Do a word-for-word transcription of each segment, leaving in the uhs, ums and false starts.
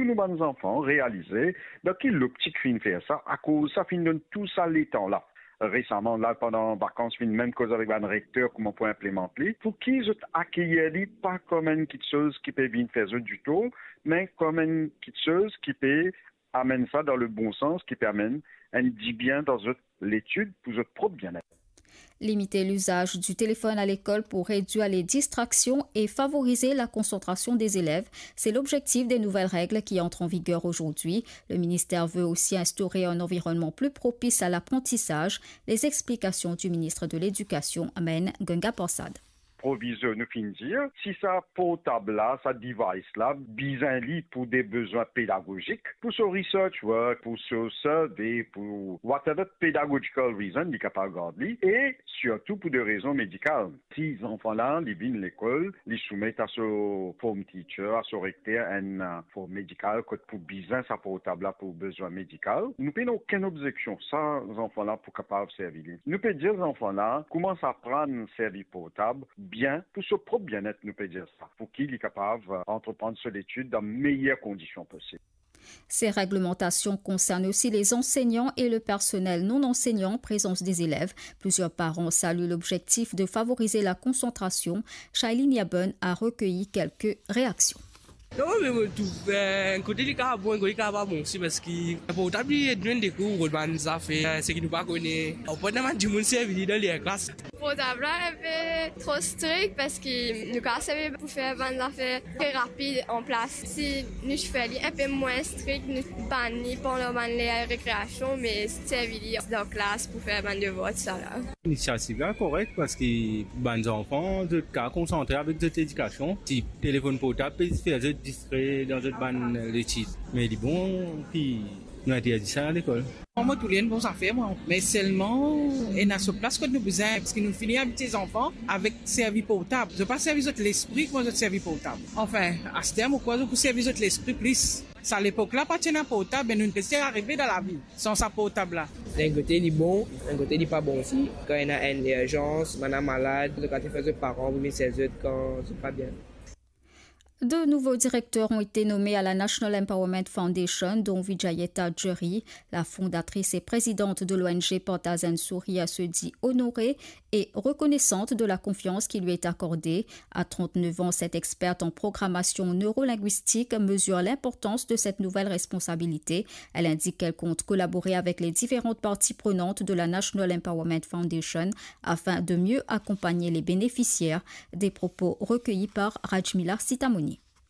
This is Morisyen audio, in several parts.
Nou bann zanfan realize dan ki loptik finn fer sa, akoz sa finn donn tou sa letan la. Resaman la, pandan vakans, finn mem koz avek bann rekter kouma pou inplimant li. Pou ki zot akeyir li pa kom enn kitsoz ki pe vinn fer zot ditor, me kom enn kitsoz ki pe amenn sa dan le bon sans, ki pe amenn enn dibien dan zot letid pou zot prop bienet. Limiter l'usage du téléphone à l'école pour réduire les distractions et favoriser la concentration des élèves, c'est l'objectif des nouvelles règles qui entrent en vigueur aujourd'hui. Le ministère veut aussi instaurer un environnement plus propice à l'apprentissage. Les explications du ministre de l'Éducation, Meng Ganga Prasad. Provizor nou finn dir, si sa portab la, sa device la, bizin li pou de bezwin pedagozik, pou so research work, pou so survey, pou whatever pedagogical reason, li kapav gard li, e sirtou pou de rezon medikal. Si zanfan la, li vinn lekol, li soumet a so form teacher, a so rekter, enn, uh, form medikal, kot pou bizin sa portab la pou bezwin medikal, nou pena okenn obzeksion. Sa zanfan la pou kapav servi li. Nou pe dir zanfan la, koumans aprann servi portab bien pou so prop bienet, nou pe dir sa, pou ki li kapav, euh, antreprann so letid dan meyer kondision posib. Ces réglementations concernent aussi les enseignants et le personnel non enseignant en présence des élèves. Plusieurs parents saluent l'objectif de favoriser la concentration. Shailene Yabon a recueilli quelques réactions. Non, me mo trouv, eh, enn kote li kapav bon, enn kote li kapav pa bon osi, parski portab li ed nou dekouvrir bann zafer, eh, seki nou pa kone. Ou pa ena bann dimoun servi li dan leklas. Portab la enpe tro strik, parski nou kapav servi pou fer bann zafer tre rapid an plas. Si nou ti fer li enpe mwin strik, nou bann li pandan bann ler rekreasion, me servi li dan klas pou fer bann devwar, tousala. Linisiativ la korek, parski bann zanfan, zot kapav konsantre avek zot ledikasion. Si telefonn portab pe fer zot distre dan zot bann letid. Me li bon ki nou interdi sa lekol. Mwa, mo trouv li enn bon zafer, mwa. Me selman, ena so plas kot nou bizin, parski nou fini abitie zanfan avek servi portab. Zot pa servi zot lespri kouma zot servi portab. Anfin, aster, mo krwar zot pou servi zot lespri plis. Sa lepok la, pa ti ena portab, me nou pe arive dan lavi san sa portab la. Enn kote li bon, enn kote li pa bon osi. Kan ena enn irzans, bann la malad, zot kapav fer zot paran pou vinn servi zot kan zot pa bien. Deux nouveaux directeurs ont été nommés à la National Empowerment Foundation, dont Vijayeta Jury. La fondatrice et présidente de l'O N G Portage and Sourire se dit honorée et reconnaissante de la confiance qui lui est accordée. À trente-neuf ans, cette experte en programmation neurolinguistique mesure l'importance de cette nouvelle responsabilité. Elle indique qu'elle compte collaborer avec les différentes parties prenantes de la National Empowerment Foundation afin de mieux accompagner les bénéficiaires. Des propos recueillis par Rajmila Sitamoni.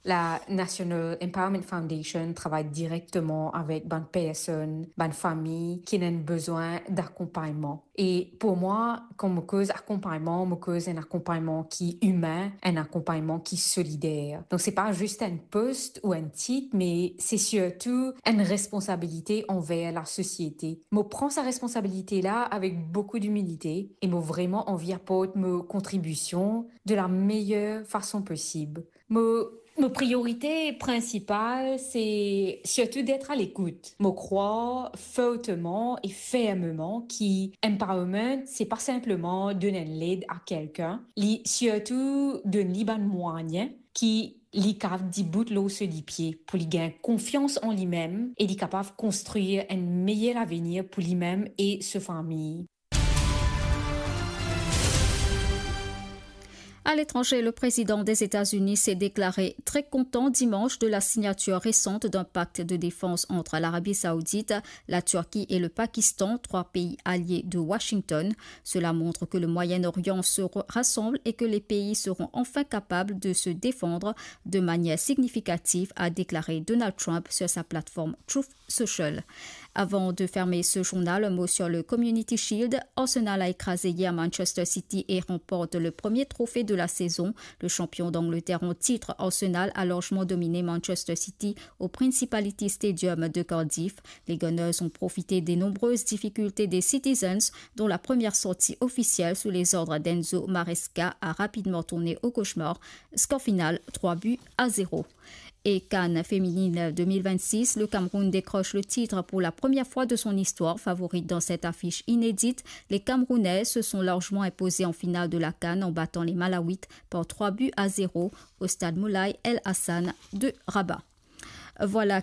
La National Empowerment Foundation travay direkteman avek bann personn, bann fami ki ena enn bizin dakonpagnman. E pou mwa, kan mo koz akonpagnman, mo koz enn akonpagnman ki imin, enn akonpagnman ki solider. Donk, se pa zis enn post ou enn tit, me se sirtou enn responsabilite anver lasosiete. Mo pran sa responsabilite la avek boukou dimilite e mo vreman anvi aport mo kontribision de la meyer fason posib. Mo, mo priorite prinsipal, se sirtou d'être à l'écoute. Mo krwar forteman e fermeman ki empowerment, se pa sinpleman donn enn led a kelkenn, li sirtou donn li bann mwayin ki li kapav dibout lor so lipie, pou li gagn konfians an limem e li kapav konstrir enn meyer lavenir pou limem e so fami. À l'étranger, le président des États-Unis s'est déclaré très content dimanche de la signature récente d'un pacte de défense entre l'Arabie Saoudite, la Turquie et le Pakistan, trois pays alliés de Washington. Cela montre que le Moyen-Orient se re-, rassemble et que les pays seront enfin capables de se défendre de manière significative, a déclaré Donald Trump sur sa plateforme Truth Social. Avant de fermer ce journal, un mot sur le Community Shield. Arsenal a écrasé hier Manchester City et remporte le premier trophée de la saison. Le champion d'Angleterre en titre, Arsenal, a largement dominé Manchester City au Principality Stadium de Cardiff. Les Gunners ont profité des nombreuses difficultés des Citizens, dont la première sortie officielle sous les ordres d'Enzo Maresca a rapidement tourné au cauchemar. Score final, trois buts à zéro. Et CAN féminine deux mille vingt-six, le Cameroun décroche le titre pour la première fois de son histoire, favorite dans cette affiche inédite. Les Camerounaises se sont largement imposées en finale de la CAN en battant les Malawites par trois buts à zéro au stade Moulay El Hassan de Rabat. Voilà